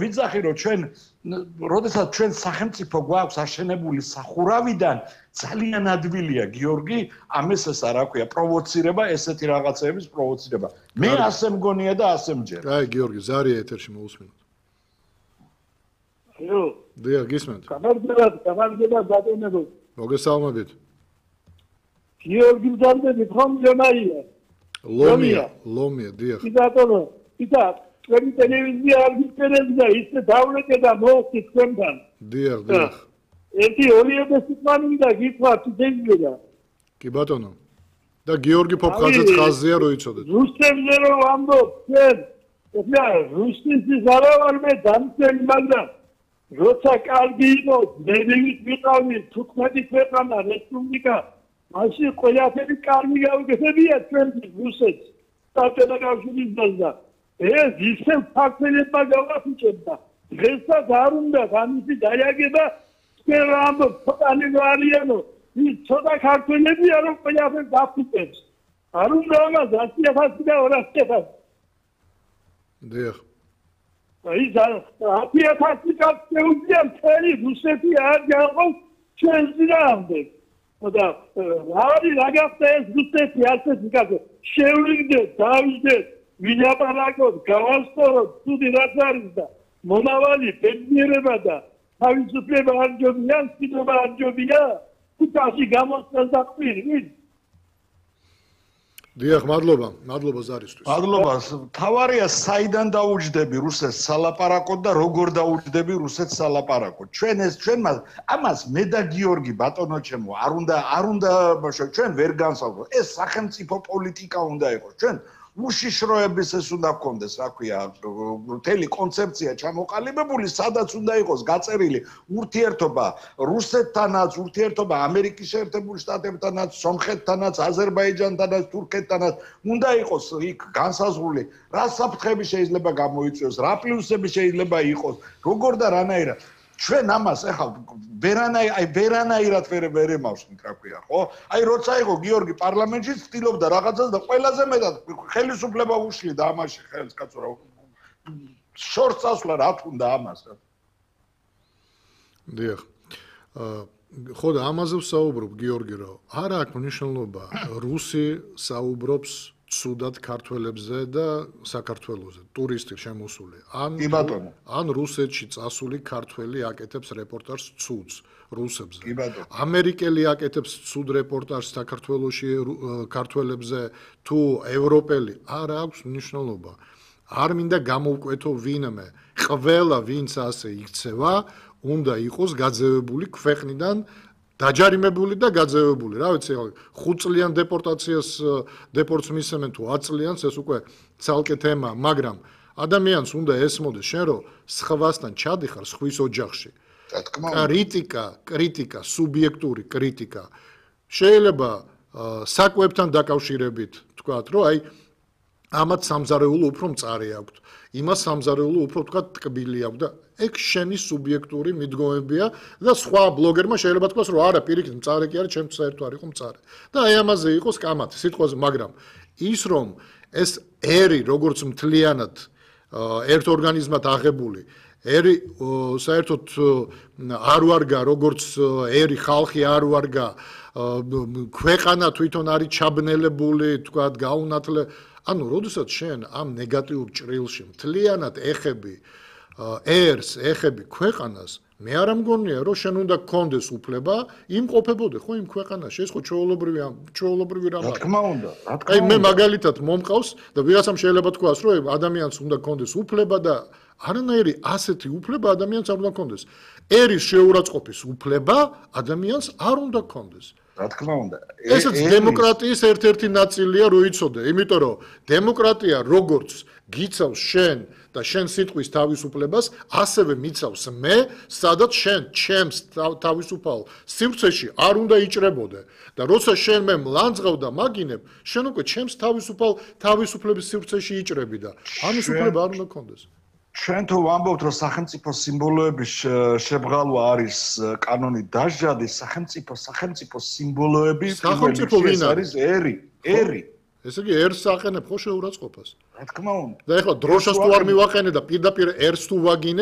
ვიცახი რომ ჩვენ როდესაც ჩვენ სახელმწიფო გვაქვს აშენებული სახურავიდან ძალიან ადვილია გიორგი ამას ეს არ აქვს პროვოცირება ესეთი რაღაცების პროვოცირება მე ასე მგონია და ასე მჯერა აი გიორგი ზარია ეთერში მოусმინოთ ალო დიახ გისმენთ გამარჯობა ბატონებო მოგესალმებით გიორგი მზარდები ხომ ჯამაია ლომია დიახ ბატონო იტა When televizion არგიტერებდა ისე დავლეკე და მოხდი თქვენთან. დიახ. ერთი ორიოდე სიტყვანი და გიყვართ შეიძლება. კი ბატონო. და გიორგი ფოფხაძეც ხაზია რო იცოდეთ. რუსებზე რომ ამბობ, ჩვენ ეხლა რუსეთის არა ვარ მე დამცელი, მაგრამ როცა კარგი იყო, მედივით ვიყავი 15 ქვეყანა რესპუბლიკა, მაშინ ყველაფერი კარგი გავიგებია ჩვენ რუსეთს. საბჭოთა კავშირის და ეს ისევ ფაქტებმა გავაფუჭებდა. დღესაც არ უნდა ამისი დაიაგება ჩვენ ამბობ ფოტანი ვარიანო ის ცოტა ქართველებია რომ ყველაფერს დაფუჭებს. არ უნდა ამას 100,000 და 200,000. დიახ. აი 100,000 ქართველია მთელი რუსეთი არ გაყავს ჩვენ ძრამდე. და რავი რაღაცა ეს რუსეთი ასეთი კაცო შევლიგდეთ დავიჯდეთ ვილაპარაკოთ, გავასწოროთ, თუდი რაც არის და მომავალი ბედნიერება და თავისუფლება არ ჯობია, მშვიდობა არ ჯობია, თვითაში გამოსცეს და ყვირით. დიახ, მადლობა ზარისთვის. მადლობა. თავარია საიდან დაუჯდები რუსეთს სალაპარაკოდ და როგორ დაუჯდები რუსეთს სალაპარაკოდ. ჩვენ ამას მე და გიორგი ბატონო ჩემო არ უნდა ჩვენ ვერ განსაზღვროთ. ეს სახელმწიფო პოლიტიკა უნდა იყოს. ჩვენ უშიშროების ეს უნდა გქონდეს, რა ქვია, მთელი კონცეფცია ჩამოყალიბებული, სადაც უნდა იყოს გაწერილი ურთიერთობა რუსეთთანაც, ურთიერთობა ამერიკის შეერთებულ შტატებთანაც, სომხეთთანაც, აზერბაიჯანთანაც, თურქეთთანაც, უნდა იყოს იქ განსაზღვრული, რა საფრთხები შეიძლება გამოიწვიოს, რა პლუსები შეიძლება იყოს, როგორ და რანაირად. ჩვენ ამას ახლა ვერანაირად ვერ ემავსნით, რა ქვია, ხო? აი როცა იყო გიორგი პარლამენტში ცდილობდა რაღაცას და ყველაზე მეტად ხელისუფლება უშლიდა ამაში ხელს კაცო რა. შორს წასვლა რა თქონდა ამას. დიახ. ხო და ამაზე ვსაუბრობ გიორგი რომ არ აქვს მნიშვნელობა რუსი საუბრობს ცუდად ქართველებზე და საქართველოზე ტურისტი შემოსული ან რუსეთში წასული ქართველი აკეთებს რეპორტაჟს ცუდს რუსებზე ამერიკელი აკეთებს ცუდ რეპორტაჟს საქართველოში ქართველებზე თუ ევროპელი არ აქვს მნიშვნელობა არ მინდა გამოვკვეთო ვინმე ყველა ვინც ასე იქცევა უნდა იყოს გაძევებული ქვეყნიდან დაჯარიმებული და გაძევებული. რა ვიცი, 5 წლიან დეპორტს მისცემენ თუ 10 წლიანს, ეს უკვე ცალკე თემა, მაგრამ ადამიანს უნდა ესმოდეს შენ რომ სხვასთან ჩადიხარ სხვის ოჯახში. კრიტიკა, სუბიექტური კრიტიკა. შეიძლება საკვებთან დაკავშირებით თქვათ, რომ აი ამათ სამზარეულო უფრო მწარე აქვს. იმას სამზარეულო უფრო თქვათ ტკბილი აქვს და ეგ შენი სუბიექტური მიდგომებია და სხვა ბლოგერმა შეიძლება თქვას რომ არა პირიქით მწარე კი არის ჩემთვის საერთოდ არ იყო მწარე და აი ამაზე იყოს კამათი სიტყვაზე მაგრამ ის რომ ეს ერი როგორც მთლიანად ერთ ორგანიზმად აღებული ერი საერთოდ არ ვარგა როგორც ერი ხალხი არ ვარგა ქვეყანა თვითონ არის ჩაბნელებული თქვათ გაუნათლე ანუ როდესაც შენ ამ ნეგატიურ ჭრილში მთლიანად ეხები ერს ეხები ქვეყანას მე არ ამგონია რომ შენ უნდა გქონდეს უფლება იმყოფებოდე ხო იმ ქვეყანაში ეს ხო ჩვეულებრივი რამაა რა თქმა უნდა აი მე მაგალითად მომყავს და ვიღაცამ შეიძლება თქვას რომ ადამიანს უნდა გქონდეს უფლება და არანაირი ასეთი უფლება ადამიანს არ უნდა გქონდეს ერის შეურაცხყოფის უფლება ადამიანს არ უნდა გქონდეს რა თქმა უნდა ესეც დემოკრატიის ერთ-ერთი ნაწილია რო იცოდე იმიტომ რომ დემოკრატია როგორც გიცავს შენ და შენ სიტყვის თავისუფლებას ასევე მიცავს მე სადაც შენ ჩემს თავისუფალ სივრცეში არ უნდა იჭრებოდე და როცა შენ მე მლანძღავ და მაგინებ შენ უკვე ჩემს თავისუფლების სივრცეში იჭრები და ამის უფლება არ უნდა გქონდეს ჩვენ თუ ვამბობთ რომ სახელმწიფო სიმბოლოების შებრალვა არის კანონით დასჯადი სახელმწიფო სიმბოლოები სახელმწიფო ვინ არის ერი ესე იგი ერს აყენებ ხო შეურაცხყოფას რა თქმა უნდა და ეხლა დროშას თუ არ მივაყენე და პირდაპირ ერს თუ ვაგინე